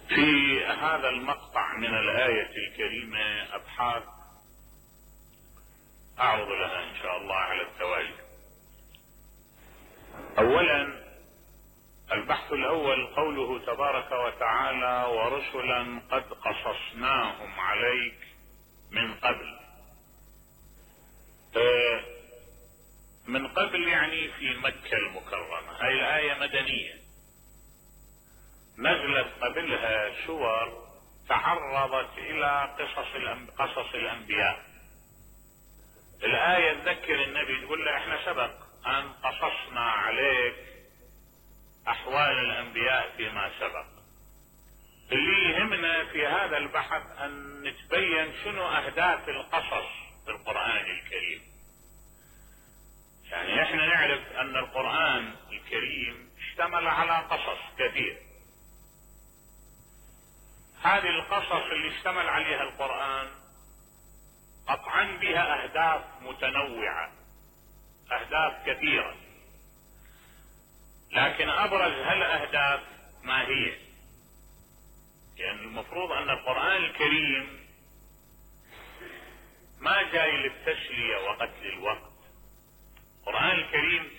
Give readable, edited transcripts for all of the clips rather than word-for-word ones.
في هذا المقطع من الآية الكريمة أبحاث أعرض لها إن شاء الله على التوالي. أولا، البحث الأول قوله تبارك وتعالى: ورسلا قد قصصناهم عليك من قبل. من قبل يعني في مكة المكرمة. هاي الآية مدنية، نزلت قبلها سور تعرضت إلى قصص الأنبياء. الآية تذكر النبي، تقول له احنا سبق أن قصصنا عليك أحوال الأنبياء فيما سبق. اللي يهمنا في هذا البحث أن نتبين شنو أهداف القصص في القرآن الكريم. يعني احنا نعرف أن القرآن الكريم اشتمل على قصص كثير. هذه القصص اللي اشتمل عليها القرآن قطعا بها أهداف متنوعة، أهداف كثيرة، لكن أبرز هالأهداف ما هي؟ يعني المفروض أن القرآن الكريم ما جاي للتسلية وقتل الوقت. القرآن الكريم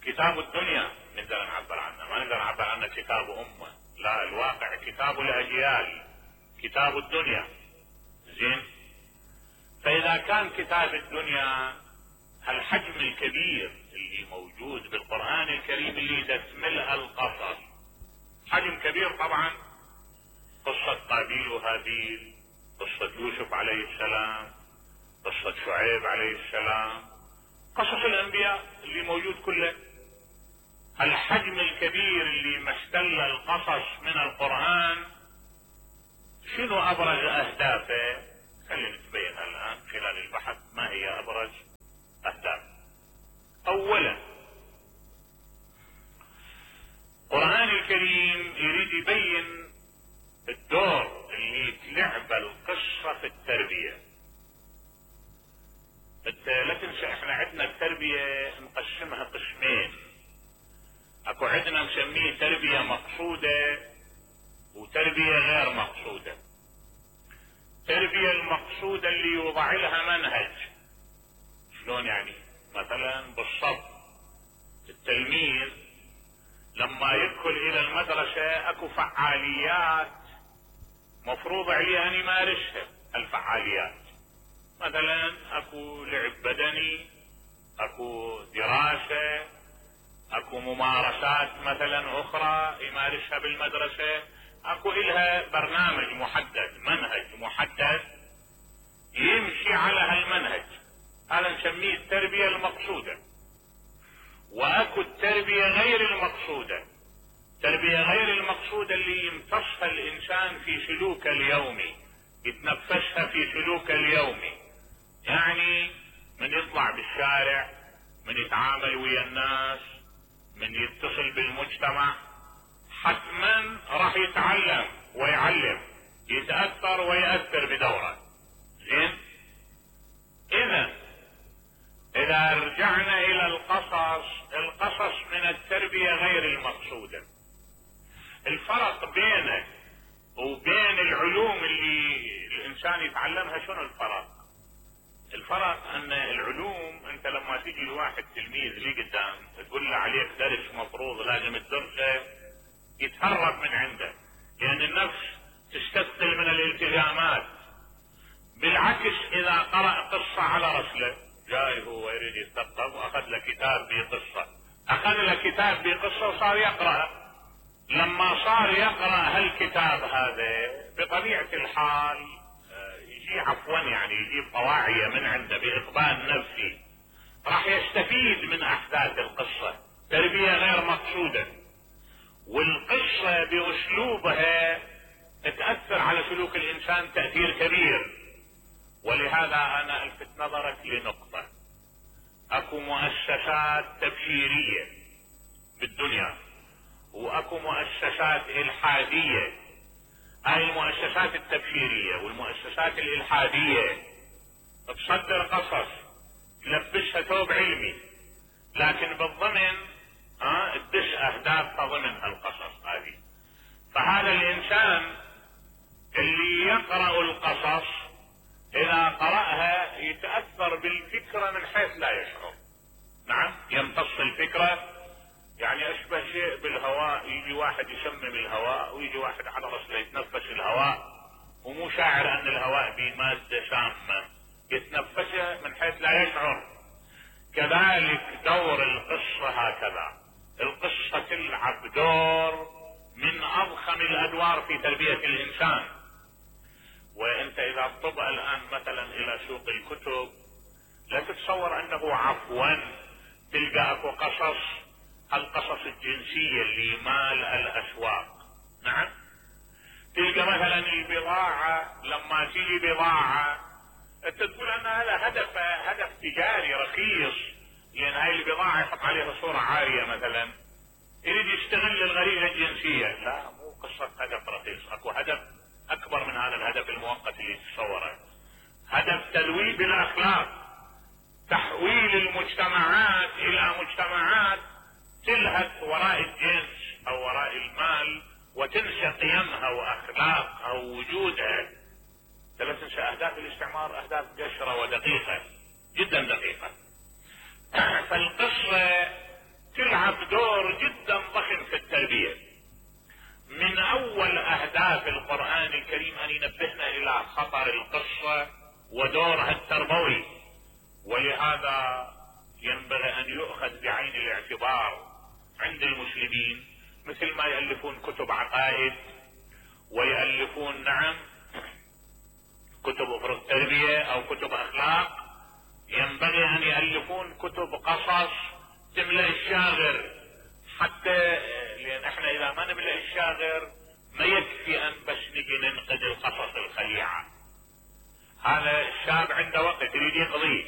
كتاب الدنيا نقدر نعبر عنه، ما نقدر نعبر عنه كتاب أمة، لا، الواقع كتاب الأجيال، كتاب الدنيا. زين، فإذا كان كتاب الدنيا هالحجم الكبير اللي موجود بالقرآن الكريم اللي تشملها القصص، حجم كبير طبعا، قصة قابيل وهابيل، قصة يوسف عليه السلام، قصة شعيب عليه السلام، قصص الأنبياء اللي موجود كله. الحجم الكبير اللي محتل القصص من القرآن، شنو أبرز أهدافه؟ خلينا نتبين الآن خلال البحث ما هي أبرز أهداف. أولا، القرآن الكريم يريد يبين الدور اللي تلعب القصة في التربية. لا تنسى احنا عندنا التربية نقسمها قسمين. اكو عندنا نسميه تربية مقصودة وتربية غير مقصودة. التربية المقصودة اللي يوضع لها منهج. شلون يعني؟ مثلا بالصبر، التلميذ لما يدخل الى المدرسة اكو فعاليات مفروض عليه ان يمارسها. الفعاليات مثلا اكو لعب بدني، اكو دراسة، اكو ممارسات مثلا اخرى يمارسها بالمدرسة، اكو الها برنامج محدد، منهج محدد يمشي على هالمنهج. هذا نسميه التربية المقصودة. واكو التربية غير المقصودة. التربية غير المقصودة اللي يمتصها الانسان في سلوكه اليومي، يتنفسها في سلوكه اليومي. يعني من يطلع بالشارع، من يتعامل ويا الناس، من يتصل بالمجتمع، حتما راح يتعلم ويعلم، يتأثر ويأثر بدوره. زين، إذا رجعنا إلى القصص من التربية غير المقصودة. الفرق بينه وبين العلوم اللي الإنسان يتعلمها شنو الفرق؟ الفرق أن العلوم أنت لما تيجي لواحد تلميذ لي قدام تقول له عليك درس مفروض لازم تدرسه، يتهرب من عنده، لأن النفس تستثقل من الالتزامات. بالعكس، إذا قرأ قصة على رسله، جاي هو يريد يتثقف وأخذ له كتاب بقصة، أخذ له كتاب بقصة وصار يقرأ. لما صار يقرأ هالكتاب هذا بطبيعة الحال يجيب طواعية من عنده بإقبال نفسي، راح يستفيد من أحداث القصة. تربية غير مقصودة، والقصة بأسلوبها تأثر على سلوك الإنسان تأثير كبير. ولهذا أنا ألفت نظرك لنقطة. أكو مؤسسات تبشيرية بالدنيا وأكو مؤسسات إلحادية. هاي المؤسسات التبشيرية والمؤسسات الإلحادية تصدر قصص، تلبسها ثوب علمي، لكن بالضمن تدس أهداف ضمن القصص هذه. يتأثر بالفكرة من حيث لا يشعر. نعم، يمتص الفكرة، يعني اشبه شيء بالهواء، يجي واحد يشمم الهواء ويجي واحد على رسله يتنفس الهواء ومو شاعر ان الهواء به مادة سامة، يتنفسه من حيث لا يشعر. كذلك دور القصة هكذا، القصة تلعب دور من اضخم الادوار في تربية الانسان. وانت اذا تطب الان مثلا الى سوق الكتب لا تتصور انه عفوا تلقى اكو قصص، القصص الجنسية اللي مال الاسواق. نعم، تلقى مثلا البضاعة، لما تيجي بضاعة انت تقول انها لها هدف تجاري رخيص، لان هاي البضاعة يحط عليها صورة عارية مثلا، يريد يستغل الغريزة الجنسية. لا، مو قصة هدف رخيص، اكو هدف اكبر من هذا الهدف المؤقت اللي تتصوره، هدف تلويث الاخلاق، تحويل المجتمعات الى مجتمعات تلهث وراء الجنس او وراء المال وتنسى قيمها واخلاقها ووجودها. لا تنسى اهداف الاستعمار اهداف قشرة ودقيقة جدا دقيقة. فالقصة تلعب دور جدا ضخم في التربية. من اول اهداف القرآن الكريم ان ينبهنا الى خطر القصة ودورها التربوي، ولهذا ينبغي ان يؤخذ بعين الاعتبار عند المسلمين، مثل ما يألفون كتب عقائد ويألفون نعم كتب افرض تربية او كتب اخلاق، ينبغي ان يألفون كتب قصص تملأ الشاغر، حتى لان احنا اذا ما نملأ الشاغر ما يكفي ان بس نجي ننقد القصص الخليعة. هذا الشاب عنده وقت يريد يقضيه،